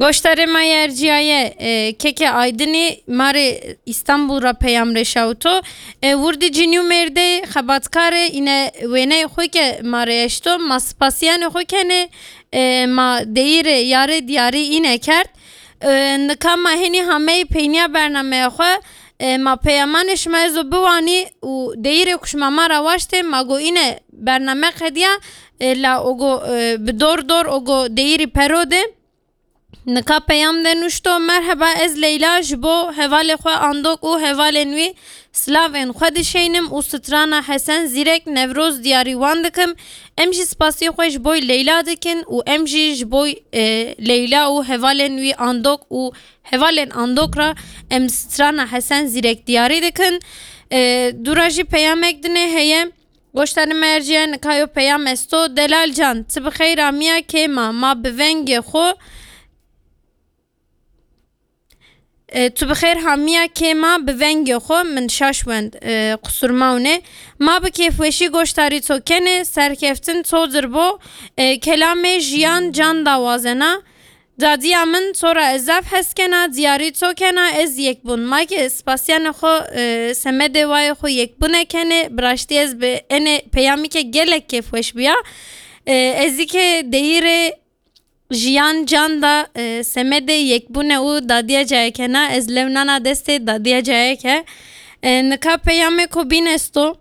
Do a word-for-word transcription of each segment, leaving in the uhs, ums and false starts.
Goştarê ma yê erciyaye, e, Keke Aydinî, ma rê Îstanbul ra peyam rêşawito. E, wirdî cinî û mêrdê xebatkarê îne wêneyê xwe ke ma rê eşto, ma spasiyanê xwe kenê, e, ma deyîrê yarê diyarî îne kerd. E, nika ma henî hameyî peyniya bernameya xwe, e, ma peyamanê şima ezo biwanî û deyîrê ku şima ma ra waştê, ma go îne bername qediya, e, la ogo, e, bi dor dor ogo deyîrî pero de. Nika peyam de nuşto, Merheba, ez Leyla, ji bo hevalê xwe Andok û hevalên wî silavên xwe dişeynim û strana Hesen Zîrek Newroz diyarî wan dikim. Em jî spasî xwe ji boy Leyla dikin û em jî ji boy, e, Leyla û hevalên wî Andok û hevalên Andok ra em strana Hesen Zîrek diyarî dikin. E, dûra jî peyamek dinê heye. Goştarê me erciye, nika yo peyam esto. Delal can, tu bi xeyr amiya kêma ma bi vengê xwe. E, tu bi xêr hamiya kêma bi vengê xwe, min şaş wend, e, qusur mawne. Ma bi kêfweşî goştarî to kenê, serkeftin to dir bo. E, kelamê jiyan can dawazena. Dadiya min, to ra ez zaf hes kena, diyarî to kena, ez yekbûn. Ma ke spasiyanê xwe, e, semedê wayê xwe yekbûne kenê, bi raştî ez bi enê peyamî ke gelek kêfweş biya. E, ez î ke deyîrê jiyan can da, e, semedê yekbûne û dadiya cayekena, ez lew nana destê dadiya cayeke. E, nika peyamê ko bîn esto.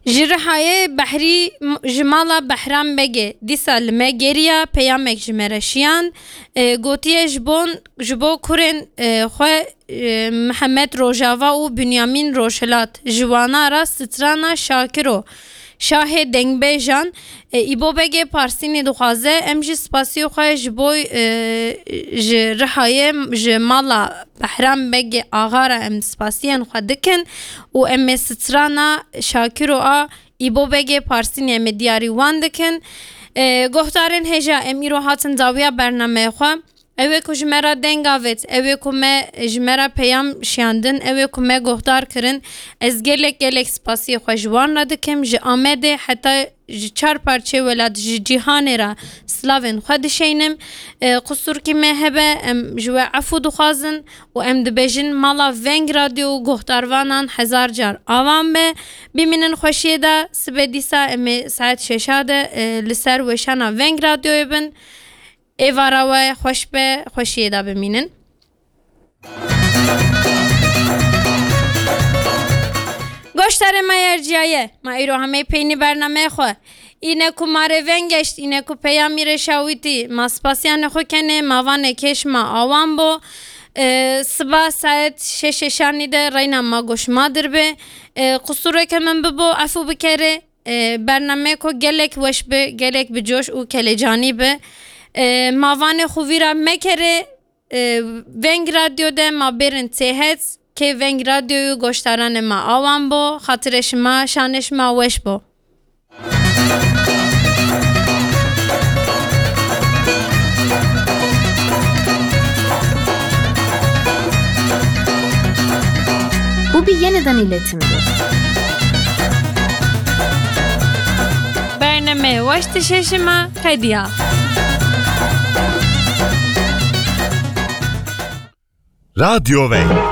Ji Rihayê Behrî m-, ji mala Behram Begê dîsa li me geriya, peyamek ji me re şiyan. E, gotiye ji bon, ji bo kurên, e, xwe, e, Mihemed Rojava û Binyamîn Rojhilat, ji wana ra strana Şakiro, şahê dengbêjan, e, Îbo Begê Parsînî dixwaze. Em jî spasî xwe ji bo, e, ji Rihayê, ji mala Behram Begê Axa re em spasiyên xwe dikin û em ê strana Şakiro a Îbo Begê Parsînî em ê diyarî wan dikin. E, guhdarên hêja, em îro hatin dawiya bernameyê xwe. Ew ê ku ji me re deng avêt, ew ê ku me, ji me re peyam şiyandin, ew ê ku me guhdar kirin, ez gelek gelek spasiyê xwe ji wan re dikim. Ji Amedê heta ji çar parçeyê welat, ji cîhanê re silavên xwe dişeynim. E, qusurkî me hebe, em ji we efû dixwazin û em dibêjin mala Veng Radyo û guhdarvanan hezar car awan be. Bimînin xweşiyê de, sibê dîsa em ê saet şeşa de, e, li ser weşana Veng Radyoyê bin. Êvara we xweş be, xweşiyê de bimînin. Goştarê me yê erciyaye, ma îro hemê peynî bernameyê xwe. Îne ku ma rê veng geşt, îne ku peyamî rê şawîtî, ma spasiyanê xwe kenê, ma vanê kêş ma awan bo. E, siba saet şeş şeşanî de reyna ma goş ma dir be. E, qusureke min bibo, efû bikerê. E, bernameyê ku gelek weş bi, gelek bi coş û kelecanî bi. E, ma vanê xwe vîra mekerê, e, Veng Radyo de ma bêrin têhet, kê Veng Radyoyê goştaranê ma awan bo, xatirê şima, şanê şima weş bo. Bu bir yeniden iletimdir. Bername weş dişeşima qediya. Radyo Veng.